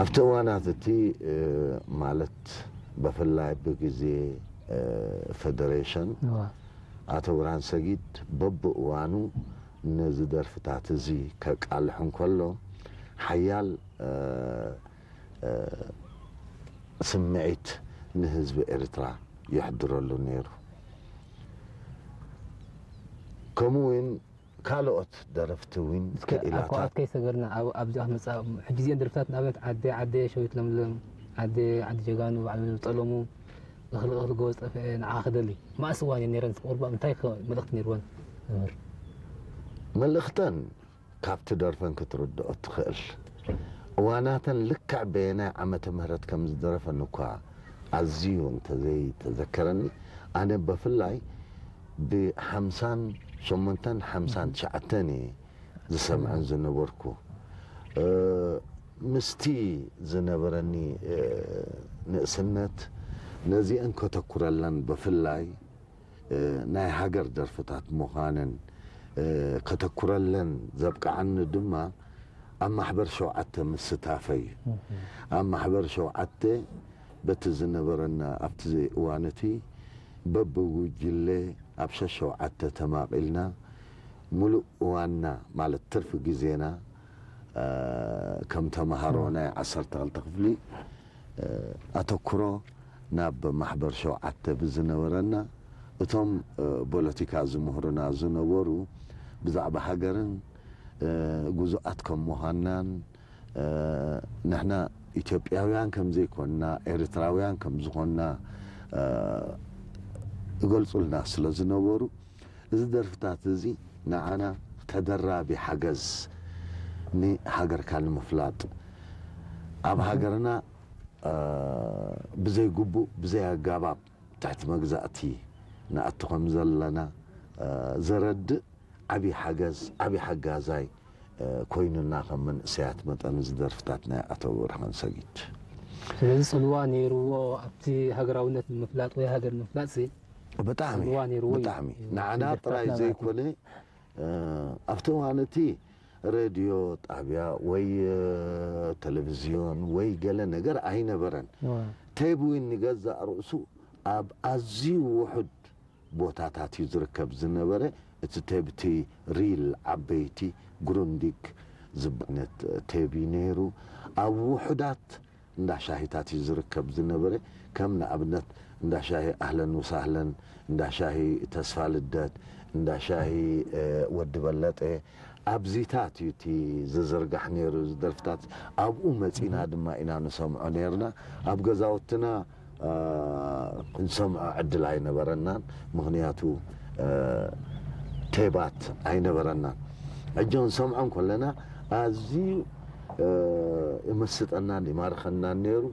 ኣብቲ እዋናት እቲ ማለት ብፍላይ ብግዜ ፈደሬሽን ኣቶ ብርሃን ሰጊድ በብእዋኑ ነዚ ደርፍታት እዚ ከቃልሕ እንከሎ ሓያል ስምዒት ንህዝቢ ኤርትራ የሕድረሉ ነይሩ። ከምኡ እውን ካልኦት ደረፍቲ እውን እስከ ኣብ ክኢላታት ከይሰገርና ኣብዚኣ መፃ ሕጂ እዚአን ደርፍታት ንኣብነት ዓደ ዓደ ሸዊት ለምለም ዓደ ዓዲ ጀጋኑ ባዕሉ ዝጠለሙ እኽሊ እኽሊ ጎበዝ ጠፍአ ንዓ ክደሊ ማእስ እዋን እየን ነይረን ቁርባ እንታይ መልእኽቲ ነይርወን? መልእኽተን ካብቲ ደርፈን ክትርድኦ ትኽእል። እዋናተን ልክዕ በየናይ ዓመተ ምህረት ከም ዝደረፈን እኳ ኣዝዩ እንተዘይተዘከረኒ ኣነ በፍላይ ብሓምሳን ሸሞንተን ሓምሳን ትሽዓተን እየ ዝሰምዐን ዝነበርኩ። ምስቲ ዝነበረኒ ንእስነት ነዚአን ከተኩረለን ብፍላይ ናይ ሃገር ደርፍታት ምዃነን ከተኩረለን ዘብቅዓኒ ድማ ኣብ ማሕበር ሸውዓተ ምስታፈይ እዩ። ኣብ ማሕበር ሸውዓተ በቲ ዝነበረና ኣብቲ እዋን እቲ በብጉጅለ ኣብ ሸሸውዓተ ተማቒልና ሙሉእ እዋንና ማለት ትርፊ ግዜና ከም ተምሃሮ ናይ ዓሰርተ ክልተ ክፍሊ ኣተኩሮ ናብ ማሕበር ሸውዓተ ብዝነበረና እቶም ፖለቲካ ዝምህሩና ዝነበሩ ብዛዕባ ሃገርን ግዙኣት ከም ምዃንናን ንሕና ኢትዮጵያውያን ከም ዘይኮንና ኤርትራውያን ከም ዝኾንና ይገልጹልና ስለ ዝነበሩ እዚ ደርፍታት እዚ ንዓና ተደራቢ ሓገዝ ንሃገርካ ንምፍላጥ ኣብ ሃገርና ብዘይ ግቡእ ብዘይ ኣጋባብ ትሕቲ መግዛእቲ ንኣቱ ከም ዘለና ዘረድእ ዓቢ ሓገዝ ዓቢ ሓጋዛይ ኮይኑና ከም መንእሰያት መጠን እዚ ደርፍታት ናይ ኣቶ ብርሃን ሰጊድ። ስለዚ ጽልዋ ነይርዎ ኣብቲ ሃገራውነት ንምፍላጥ ወይ ሃገር ንምፍላጥ ሲ ብጣዕሚ ጽልዋ ነይርዎ እዩ። ብጣዕሚ ንዓና ደርፍታትና ጥራይ ማለት እዩ። ዘይኮነ ኣብቲ እዋን እቲ ሬድዮ ጣብያ ወይ ቴሌቪዝዮን ወይ ገለ ነገር ኣይነበረን። ዋ። ቴብ እውን ንገዛእ ርእሱ ኣብ ኣዝዩ ውሑድ ቦታታት እዩ ዝርከብ ዝነበረ። እቲ ቴብ እቲ ሪል ዓበይቲ ግሩንዲግ ዝበነት ቴብ እዩ ነይሩ። ኣብ ውሑዳት እንዳ ሻሂታት እዩ ዝርከብ ዝነበረ። ከም ንኣብነት እንዳ ሻሂ ኣህለን ወሳህለን፣ እንዳ ሻሂ ተስፋ ልደት፣ እንዳ ሻሂ ወዲ በለጠ ኣብዚታት እዩ እቲ ዝዝርጋሕ ነይሩ እዚ ደርፍታት። ኣብኡ መፂና ድማ ኢና ንሰምዖ ነይርና። ኣብ ገዛውትና ንሰምዖ ዕድል ኣይነበረናን፣ ምኽንያቱ ቴባት ኣይነበረናን። ሕጂ ክንሰምዖ እንከለና ኣዝዩ ይመስጠናን ይማርኸናን ነይሩ።